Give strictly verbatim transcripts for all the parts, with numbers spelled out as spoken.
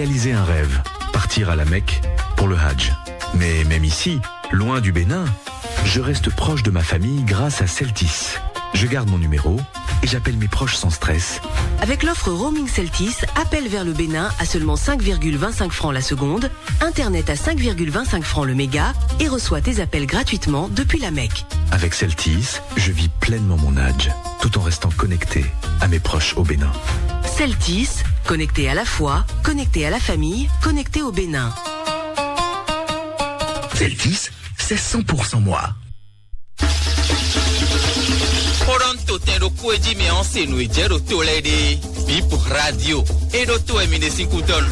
Réaliser un rêve, partir à la Mecque pour le Hajj. Mais même ici, loin du Bénin, je reste proche de ma famille grâce à Celtis. Je garde mon numéro et j'appelle mes proches sans stress. Avec l'offre roaming Celtis, appel vers le Bénin à seulement cinq virgule vingt-cinq francs la seconde, internet à cinq virgule vingt-cinq francs le méga et reçois tes appels gratuitement depuis la Mecque. Avec Celtis, je vis pleinement mon Hajj, tout en restant connecté à mes proches au Bénin. Celtis, connecté à la foi, connecté à la famille, connecté au Bénin. Celtis, c'est cent pour cent moi. Kpɔɖɔn to tɛn ɖokpó e jí mɛ ɔ́ se nǔ e jɛ ɖo to lɛ́ɛ ɖe. Bip Radio. E ɖo to wɛ mi ɖe sín kútɔ́ nu.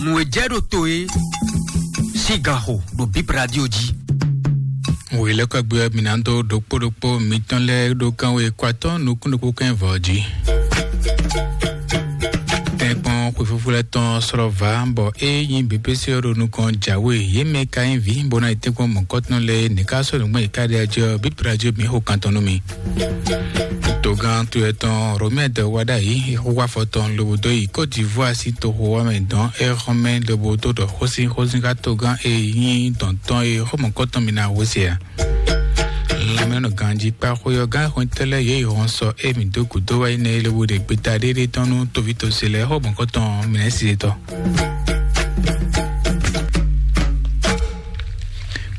Nǔ e jɛ ɖo to e sín ganxo ɖo Bip Radio jí. Wělɛ́kɔ́gbé ɔ́, mi ná dó ɖokpó ɖokpó mitɔn lɛ́ɛ ɖó kánwé kó atɔ́ nukún ɖokpó kɛ́n vɔ̌ jí. Tɛ́nkpɔ́n xwefúfú lɛ́ɛ tɔn slɔ́ vǎ, bɔ é nyí B P C ɔ́ ɖo nukɔn jǎwe. Yě mɛ ka nyí vǐ bó ná yi tɛ́nkpɔ́n mɔ̌kɔtɔn lɛ́ɛ, nǐ ká sɔ́ nǔgbɛ́ yě ká ɖe ajɔ Bíblá jí mi xo kan tɔn nú mi. Togán to etɔn Romɛ́ dɔ wá ɖ'ayǐ, é xo wá afɔ tɔn lobo dó yi Côte d'Ivoire sín toxo wá mɛ dɔn é xɔ́n mɛ lobo dó ɖɔ xósin xósin xá togán e nyí dɔn tɔn e xó mɔ̌kɔtɔn mi ná wó se ǎ. Lanmɛnɔ ganjí kpa xwé ɔ́ gán xwɛntɔ́ lɛ́ɛ yě yi hɔn sɔ émí dó gǔdo wá yi nɛ lobo ɖe gbeta ɖéɖé tɔn nú tovítɔ́sí lɛ́ɛ xó mɔ̌kɔtɔn mɛ̌si tɔn.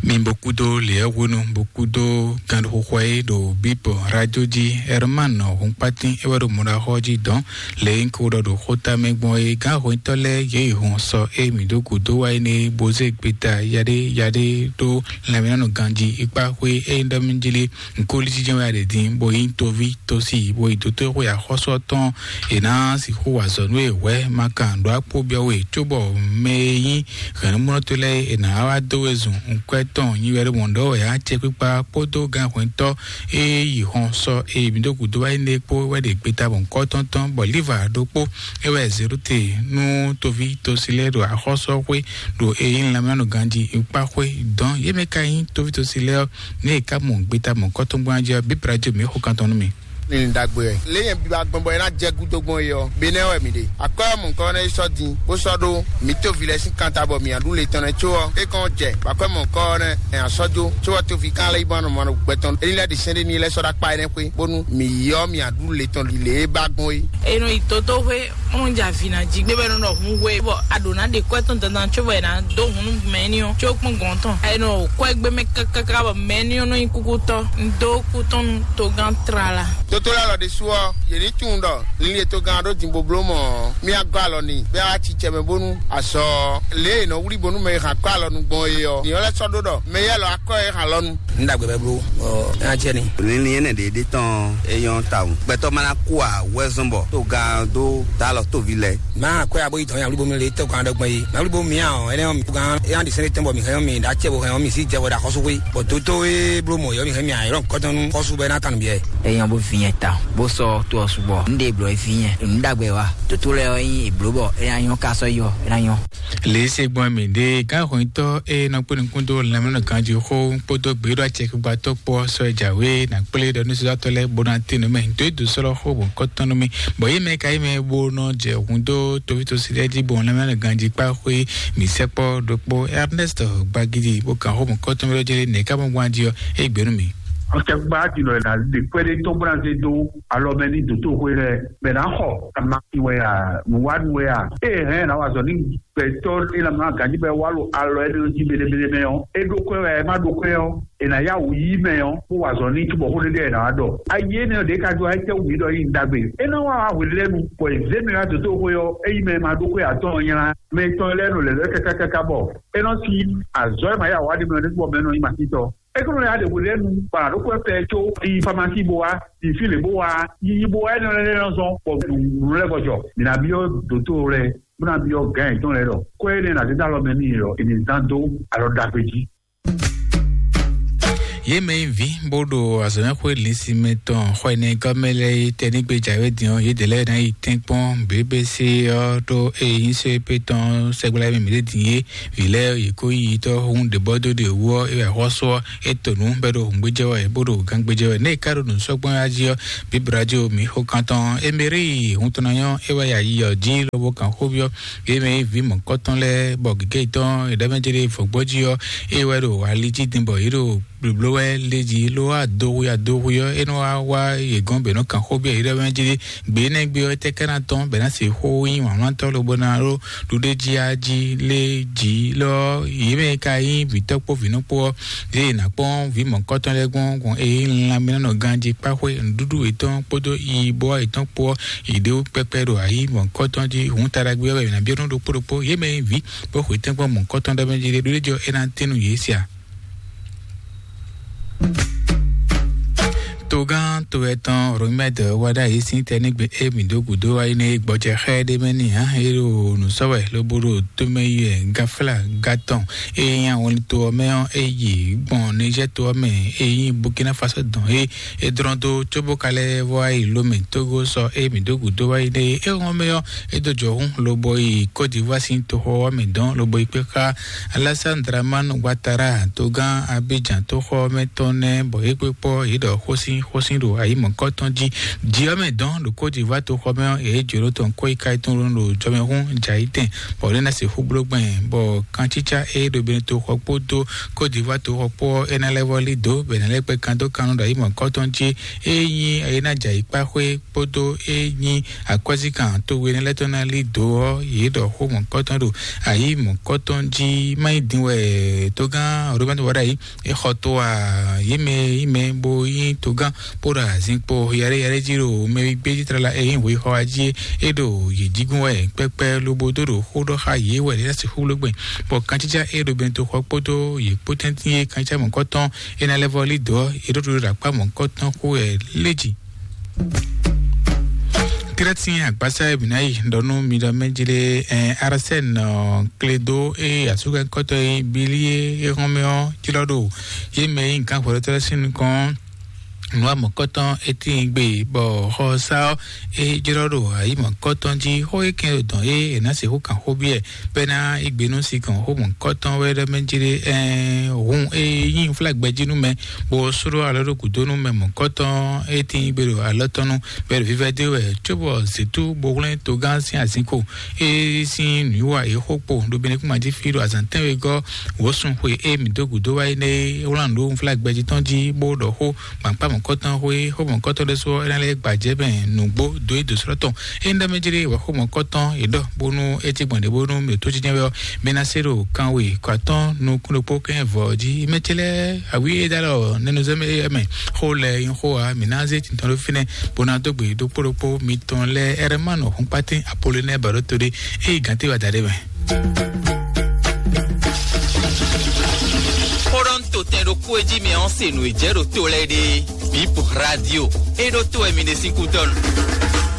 Mi bo kúdó lěɛ́ hwenu bo kúdó ganxixɔ e ɖo bíbɔ radio jí. Herman Hunkpatin é wɛ ɖo mɔɖaxɔ jí dɔn lě e un ko ɖɔ ɖo xóta mɛ gbɔn é gán hwɛntɔ́ lɛ́ɛ yě yi hɔn sɔ émí dó gǔdo wá yi nɛ bó zé gbeta yaɖé yaɖé ɖó lanmɛnɔ ganjí ikpa xwé é ɖɔ mi jí lé. Nkóli jínjɔ́n wɛ a ɖe din, bó nyí toví tosi, bó yi dótó xwe axɔ́sú ɔ́ tɔn. È nǎ sixú wa azɔ̌ nú e hwɛ̌ ma kan ɖó akpó byɔ́ we, cóbɔ mɛ e nyí hɛ̌nnumlɔ́tɔ́ lɛ́ɛ è nǎ wá dó we zun nkwɛ́ tɔn nyi wɛ ɖo mɔ̌ ɖɔ wɛ acɛkpikpa kpódó gánhwɛntɔ́ e yi hɔn sɔ e mǐ ɖo gǔdo wá yi nɛ kpó wɛ ɖe gbeta mɔ̌kɔ́tɔn tɔn, bɔ Liva ɖokpó é wɛ Zerute nú toví tosi lɛ́ɛ ɖo axɔ́sú ɔ́ xwé ɖo e nyí lanmɛnɔ ganjí kpá xwé dɔn yě mɛ ka nyí toví tosi lɛ́ɛ ɔ́. Ní è ká mɔ gbeta mɔ̌kɔtɔn gbɔn jí ɔ́, bíbla jó mǐ xo kan tɔn nú mi. Ní ɖagbe wɛ. Lě nyɛ biba gbɔn bɔ é ná jɛ gúdo gbɔn é ɔ́, Benɛ́ wɛ mǐ ɖe. Akwɛ́ ɔ́ mɔ̌kɔ nɛ́ yi sɔ́ din, bó sɔ́ ɖó mǐ toví lɛ́ɛ sín kanta bɔ mǐ ná ɖu le tɔn nɛ́ có ɔ́, é kɔn jɛ bɔ akwɛ́ mɔ̌kɔ ɔ́ nɛ́ ɛ ná sɔ́ jó, có ɔ́ toví kan lɛ́ yi bɔ́ nɔ mɔ gbɛ tɔn. Éní lɛ́ɛ ɖi sɛ́n ɖé n'i lɛ́ sɔ́ ɖó akpá énɛ́ xwé, bónú mǐ yi ɔ́ mǐ ná ɖu le tɔn ɖi lě e ba gbɔn é. È nɔ yi dotoxwé, bó nɔ jɛ avǐ ná jí gbé bɔ é nɔ ɖɔ hǔn hwe, bɔ a ɖǒ ná ɖe kwɛ́ tɔn dandan có bɔ è nǎ dó hun nú mɛ éní ɔ́, có kpɔ́n gɔ̌n tɔn. È nɔ kwɛ́ gbé mɛ káká bɔ mɛ éní ɔ́ nɔ nyí kúkútɔ́. Un dó kú tɔn nú togán tlala. Tótó lɛ́ɛ lɔ ɖésú ɔ́, yě ní tunwun ɖɔ linlin e togán ɔ́ ɖó din bó bló mɔ̌ ɔ́, mì agɔ́ alɔ n'i, bɔ é wá cicɛ mɛ bónú azɔ lě e è nɔ wlí bónú mɛ e hɛn akwɛ́ alɔ nu gbɔn é ɔ́, nyɛ lɛ́ sɔ́ ɖó ɖɔ mɛ yɛ́ lɔ akwɛ́ e hɛn alɔ nu. Un ɖagbe bɛ bló, ɔ, é ná jɛ ni. Linlin énɛ́ ɖě ɖé tɔn é nyɔ́ tawun. Gbɛtɔ́ ma ná kú ǎ wɛ zɔ́n bɔ togán dó dó alɔ tóvi lɛ́ɛ. Má akwɛ́ abo yi dɔn ya wlí bónú le tɔgán ɖɔ gbɔn yi. Má wlí bónú mǐ ǎ ɔ́, énɛ́ ɔ́, mǐ togán é ná ɖi sɛ́n ɖé tɔn bɔ mǐ hɛn ɔ́, mǐ ɖó acɛ bó hɛn ɔ́, mǐ sí jɛ wɛ ɖo axɔ́sú xwé. Bɔ dótó e bló mɔ̌ yɔ mǐ hɛn mǐ ǎ, é ɖɔ nǔ kɔ́tɔn nú xɔ́sú bɔ é ná tan nǔ byɔ́ ɛ. É nyɔ́ bó vǐ nyɛ ta, bó sɔ́ tó ɔ́ sugbɔ. Un ɖe blɔ é vǐ nyɛ. Nǔ ɖagbe wa. Dǒtó lɛ́ɛ ɔ́ nyí è blǒ bɔ é ná nyɔ́ ká sɔ́ yi ɔ́, é ná nyɔ́. Lě e se gbɔn mǐ ɖe gǎnhwɛntɔ́ e nɔ kpé nukún dó lanmɛnɔ ganjí xó kpódó gběɖɔ acɛkpikpatɔ́ kpó ɔ́ sɔ́ é jǎwe ná kplé ɖɔ nú sɔ́sɔ́tɔ́ lɛ́ɛ bó ná tín nú mɛ dó é dǒ sɔ́ lɔ xó bɔ̌nkɔ́tɔn nú mì, bɔ yě mɛ ka yí mɛ bó nɔ jɛ hun dó tovítɔ́sí lɛ́ɛ jí bɔ lanmɛnɔ ganjí kpá xwé mǐ sɛkpɔ́ ɖokpó Ernest Gbagidi bó kan xó bɔ̌nkɔ́tɔn mɛ lɔ jɛ nɛ̌ ká mɔ gbɔn jí ɔ́, é gbě nú mì. Acɛkpikpa ɔ́ tinɔ è nǎ ɖe kpɛ́ɖé tɔn bó ná zé dó alɔ mɛ ní dǒtó xwé lɛ́ɛ, bɛ ná xɔ ama wɛ a, nǔwánu wɛ a, ée hɛn ná wa azɔ̌ ní gbɛtɔ́ e ná mlá ganjí bɔ é wá ɖo alɔ énɛ́ jí mɛɖémɛɖé mɛ ɔ́, é ɖó kwɛ́ wɛ, é má ɖó kwɛ́ ɔ́, è nǎ yá wǔ yí mɛ ɔ́, bó wa azɔ̌ ní cóbɔ xó ɖé ɖé è nǎ wá ɖɔ. Ayi énɛ́ ɔ́ ɖě ka jó ayítɛ́wú mǐ ɖɔ nyí ɖagbe. É ná wá wá hwelɛ́nu, bɔ è zě mɛ wá dǒtó xwé ɔ́, ényí mɛ e ma ɖó kwɛ́ ǎ tɔn ɔ́ nylá. Mɛ tɔn lɛ́ɛ nɔ lɛ̌ lɛ́ káká káká bɔ é nɔ sí azɔ̌ e ma yá wǎ ɖé mɛ ɔ́ ɖésú bɔ mɛ nɔ nyí masítɔ́. É kó nɔ yá ɖe hwelɛ́nu bɔ a nǎ ɖó kwɛ́ fɛ có yi famasi bó wá, yi fí lě bó wá, yi yi bó wá énɛ́ lɛ́ɛ nɔ zɔ́n bɔ nǔ lɛ́ɛ vɔ jɔ. Mǐ ná byɔ́ dǒtó lɛ́ɛ, bó ná byɔ́ gǎn yětɔn lɛ́ɛ ɖɔ kwɛ́ énɛ́ ná zé dó alɔ mɛ n'i ɔ́, è nǐ zán dó alɔ ɖagbe jí. Yě mɛ e ví bó ɖo azɔ̌mɛxwé linsimɛ tɔn xɔ ɛnɛ gɔ́ mɛ lɛ́ɛ é tɛnígbe jǎwe din ɔ́, yědɛɛ lɛ́ɛ ná yi tɛ́nkpɔ́n běbése ɔ́ ɖó ényí sɔ́ épé tɔn sɛgbla mɛ mǐ ɖe din é. Vǐ lɛ́ɛ yě kó yi tɔ́ hún ɖě bɔ dó ɖě wú ɔ́, é wɛ xɔ́sú ɔ́ é to nǔ bɔ é ɖo hǔngbéjɛ wɛ bó ɖo gangbéjɛ wɛ. Nɛ́ è ká ɖo nǔ sɔ́ gbɔn jí ɔ́, bǐ Braɖo mǐ xo kan tɔn Emerí hun tɔn ná nyɔ́ é wɛ ya yi ɔ́ jí lobo kan xó byɔ́ yě mɛ e ví mɔ̌kɔtɔn lɛ́ɛ bɔ gěgé tɔn è ɖɔ mɛ jɛ ɖe vɔ̌gbɔ́ jí ɔ́, é wɛ ɖo ali jí din bɔ yě ɖo blǒbló wɛ lé jí ló wá do hu ya do hu ɔ́, é nɔ wá wá yě gɔ́n bɛ nɔ kan xó byɔ́ yě ɖɔ mɛ jɛ ɖe gbě nɛ́ gbé ɔ́ tɛ́ ká ná tɔn bɛ ná se xó nyí wǎnwántɔ́ lobo ná ɖó ɖuɖéjí á jí lé jí lɔ yě mɛ ka nyí vǐtɔ́ kpó vǐnɔ kpó ɔ́, yě ná kpɔ́n vǐ mɔ̌kɔtɔn lɛ́ɛ gbɔn gbɔn eye lanmɛnánɔ ganjí kpáxwé nǔɖuɖu yětɔn kpódó yibɔ yětɔn kpó ɔ́, yě ɖe wú kpɛkpɛ ɖo ayǐ mɔ̌kɔtɔn jí. Hǔn taɖagbe ɔ́ wɛ è nǎ byɔ́ nú ɖokpó ɖokpó yě mɛ nyí vǐ bó xwetɛ́nkpɔ́n mɔ̌kɔtɔn ɖɔ mɛ jí ɖe ɖuɖéjí ɔ́ é ná tín nú yě sia. Togán to etɔn Romɛd wá ɖo ayǐ sín tɛnígbe émi dó gǔdo wá yi nɛ gbɔjɛ xɛ ɖé mɛ n'i hã é ɖo nǔ sɔ́ wɛ lobo ɖo tómɛ yi wɛ gáfla gátɔn e nyí awɔnlin to ɔ́ mɛ ɔ́ é yi gbɔn Nizɛ́ to ɔ́ mɛ e nyí Burkina Faso dɔn é é dlɔ́n dó cóbó ka lɛ́ vɔ yi Lomɛ Tógó sɔ émi dó gǔdo wá yi nɛ é hɔn mɛ ɔ́ é dó jɔ hún lobo yi Côte d'Ivoire sín toxo ɔ́ mɛ dɔn lobo yi kpé xá Alassane Dramane Ouattara togán Abidjan toxo ɔ́ mɛ tɔn nɛ́ bɔ é kpé kpɔ́ yě ɖɔ xósin xósin ɖo ayǐ mɔ̌kɔtɔn jí. Jǐ ɔ́ mɛ dɔn ɖo Côte d'Ivoire toxɔ mɛ ɔ́, yě jǒ ɖó tɔn kó yi ka yi tɔn ɖo jɔmɛhún jǎ yi tɛn, bɔ ɖé ná sixú bló gbɛn, bɔ kancícá e ɖo Benin toxɔ kpódó Côte d'Ivoire toxɔ kpó ɔ́, é ná lɛ́ vɔ lí dǒ bɔ è nǎ lɛ́ kpɛ́ kan dó kan nɔ ɖo ayǐ mɔ̌kɔtɔn jí. É nyí é ná jɛ ayǐ kpá xwé kpódó é nyí akwɛ́zíkan towe énɛ́ lɛ́ɛ tɔn ná lí dǒ ɔ́, yě ɖɔ xó mɔ̌kɔtɔn ɖo ayǐ mɔ̌kɔtɔn jí. Má nyí din wɛ togán Robert Wadayi é xɔ tó a yě mɛ yí mɛ bó nyí togán bó ɖo azinkpo yɛɖé yɛɖé jí ɖo mɛwígbé jí tlala é nyí hwexɔ wá jí é ɖo yě jígún wɛ kpɛkpɛ lobo dó ɖo xó ɖɔ xá yě wɛ é ná sixú bló gbɛn, bɔ kancícá é ɖo bɛntoxɔ kpódó yě kpó tɛ́ntin é kancícá mɔ̌kɔtɔn é ná lɛ́ vɔ lí dǒ ɔ́, é ɖó ɖuɖu ɖo akpá mɔ̌kɔtɔn xó wɛ lé jí. Krɛ́tin agbásá e mǐ ná yi ɖɔ nú mi ɖɔ mɛ jí lé, ɛn, Arsène, ɔ, Kledo e asúkɛkɔtɔ e Bili e é hɔn mɛ ɔ́ jlɔ́ ɖo yě mɛ e nyí gǎn hwɛɖɔtɔ́ lɛ́ɛ sín nukɔn nǔ amɔ̌kɔtɔn é tíin gbe bɔ xɔsá ɔ́ é jlɔ́ ɖo ayǐ mɔ̌kɔtɔn jí. Xó e kɛn ɖo dɔn é è nǎ sixú kan xó byɔ́ ɛ bɔ é ná yí gbe nú sinkɔn xó mɔ̌kɔtɔn wɛ ɖɔ mɛ jí lé, ɛn, hun e nyí flágbɛ jí nú mɛ bó sló alɔ ɖo gǔdo nú mɛ mɔ̌kɔtɔn e tíin gbe ɖo alɔ tɔn nu, bɔ é ɖo vívɛ́ dó wɛ cóbɔ zětú bó hwlɛ́n togán sín azinkpo é sín nǔwiwa é xó kpo ɖo Benɛkúma jí fí ɖo azǎn tɛ́nwegɔ́ wǒsun xwe e mǐ dó gǔdo wá é nɛ́ é wlán nǔ ɖó unflágbɛjí tɔn jí bó ɖɔ xó gbǎkpá mɔ̌kɔtɔn xwé xó mɔ̌kɔtɔn ɖésú ɔ́, é ná lɛ́ gbajɛ bɛn nǔgbó dó é dǒ slɔ́ tɔn. É nyí ɖɔ mɛ jí ɖé wɛ xó mɔ̌kɔtɔn é ɖɔ bónú é cí gbɔn ɖě bónú mǐ tó cí jɛ́n wɛ ɔ́, mi ná se ɖo kanwe kɔ atɔ́ɔ́n nukún ɖokpó kɛ́n vɔ̌ jí. Mɛ ce lɛ́ɛ awǐ e dó alɔ nɛnuzɛ́mɛ é mɛ xó lɛ́ɛ nyí xó ǎ. Mǐ ná zé tintɔn ɖó fínɛ́ bó ná dó gbe ɖokpó ɖokpó mitɔn lɛ́ɛ. Ɛrɛmánu Hɔnkpátín Apolinɛ́ɛ Bǎɖótó ɖé é yi gǎn téwada ɖé mɛ. Xó ɖɔ un to tɛn ɖokpó e jí mɛ ɔ́ se nǔ e jɛ ɖo to lɛ́ɛ ɖe. Bip Radio. É ɖó to wɛ mi ɖe sín kútɔ́nu.